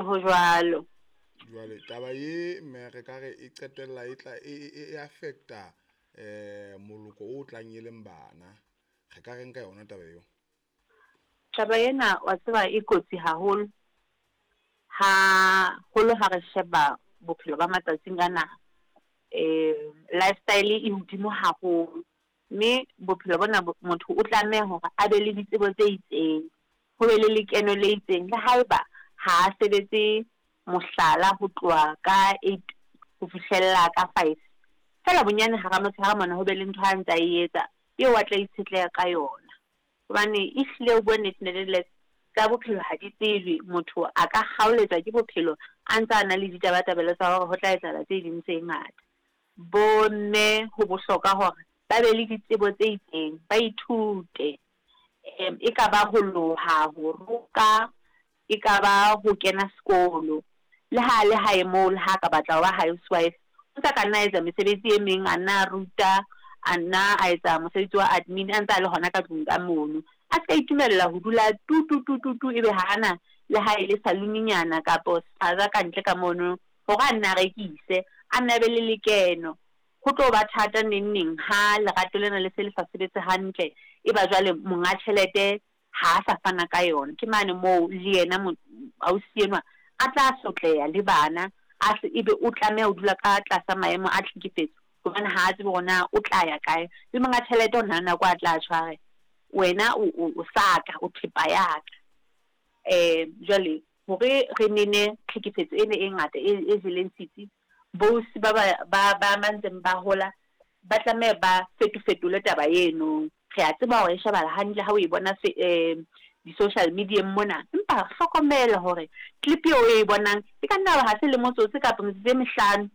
Ho jwalo. Jwale taba ye mme re ka re e qetella e tla e e affecta moloko o tlang e leng bana. Re ka reng ka yona taba eo? Taba ena wa tseba e kotsi haholo, haholo ha re sheba bophelo ba matsatsing ana. Lifestyle e hodimo haholo, mme bophelo bona motho o tlameha hore a be le ditsebo tse itseng, ho be le lekeno le itseng. Le haeba ha a sebetse mohlala ho tloha ka 8 ho fihlella ka 5, feela bonyane hara motshehare mona ho be le ntho a ntsa e etsa eo a tla itshetleha ka yona. Hobane ehlile ho bua nnete tsa bophelo ha di tsejwe, motho a ka kgaoletswa ke bophelo a ntsa a na le ditabatabelo tsa hore ho tla etsahala tse ding tse ngata. Bomme ho bohlokwa hore ba be le ditsebo tse itseng, ba ithute. E ka ba ho loha, ho roka, e ka ba ho kena sekolo. Le ha le hae moo, le ha ka batla ho ba housewife, o ntsa ka nna etsa mesebetsi e meng, a nna a ruta, a nna a etsa mosebetsi wa admin, a ntsa a le hona ka tlung ka mono. A ska itumella ho dula tu tu tu tu tu, ebe ha ana le ha e le salon-nyana kapo spaza ka ntle ka mono hore a nne a rekise, a nne a be le lekeno. Ho tlo ba thata neng neng ha lerato lena le se le sa sebetse hantle, e ba jwale monga tjhelete ha a sa fana ka yona. Ke mane moo le yena ausi enwa a tla sotleha le bana, a se ebe o tlameha ho dula ka tlasa maemo a tlhekefetso, hobane ha a tsebe hore na o tla ya kae. Le monga tjhelete o na le nako a tla tjho a re, wena o sa ka, o thepa ya ka. Jwale hore re nene tlhekefetso ena e ngata e jeleng setsi, boausi ba ba ba ba ntseng ba hola ba tlameha ba fetofetole taba eno. Re a tseba hore e shebahala hantle ha o e bona di-social media-eng mona, empa hlokomela hore clip eo o e bonang e ka nna ba ha se le motsotso kapa metsotso e mehlano.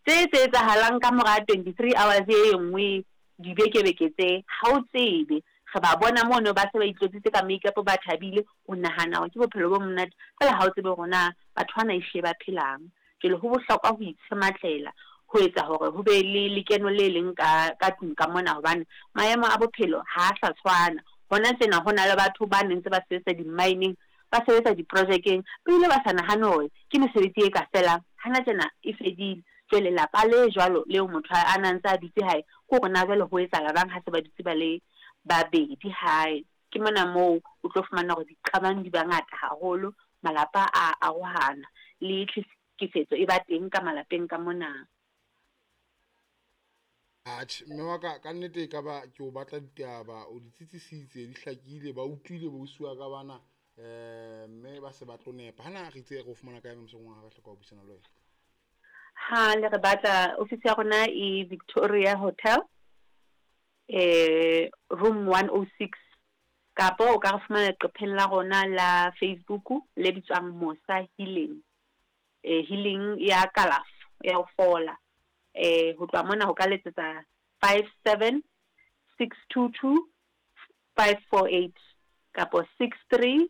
Tse tse etsahalang ka mora 23 hours e nngwe dibeke-beke tse, ha o tsebe. Re ba bona mono ba se ba itlotsitse ka makeup ba thabile, o nahana hore ke bophelo bo monate, feela ha o tsebe hore na batho bana ehlile ba phelang. Jwale ho bohlokwa ho itshematlela, ho etsa hore ho be le lekeno le leng ka ka tlung ka mona, hobane maemo a bophelo ha a sa tshwana. Hona tjena ho na le batho ba neng ntse ba sebetsa di-mine-eng, ba sebetsa diprojekeng, ebile ba sa nahane hore ke mesebetsi e ka felang. Hana tjena e fedile. Jwale lelapa le jwalo leo motho a na ntse a dutse hae, ke hore na jwale ho etsahala jwang ha se ba dutse ba le babedi hae. Ke mona moo o tlo fumana hore diqabang di ba ngata haholo, malapa a arohana, le tlhekefetso e ba teng ka malapeng ka mona. Atjhe, mme wa ka, ka nnete e ka ba ke o batla ditaba, o di tsitsisitse, di hlakile, ba utlwile boausi wa ka bana, mme ba se ba tlo nepa. Hana re itse re o fumana kae mosong wa ha re hloka ho buisana le wena? Ha le re batla, ofisi ya rona e Victoria Hotel, room 106, kapo o ka re fumana leqepheng la rona la Facebook le bitswang Mosa Healing. Healing ya kalafo ya ho fola. Ho tloha mona ho ka letsetsa 57 622 548 kapo 63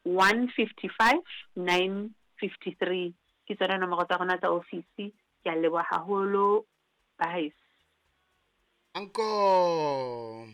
155 953. Ke tsona nomoro tsa rona tsa ofisi. Ke a leboha haholo, ba heso. Anko.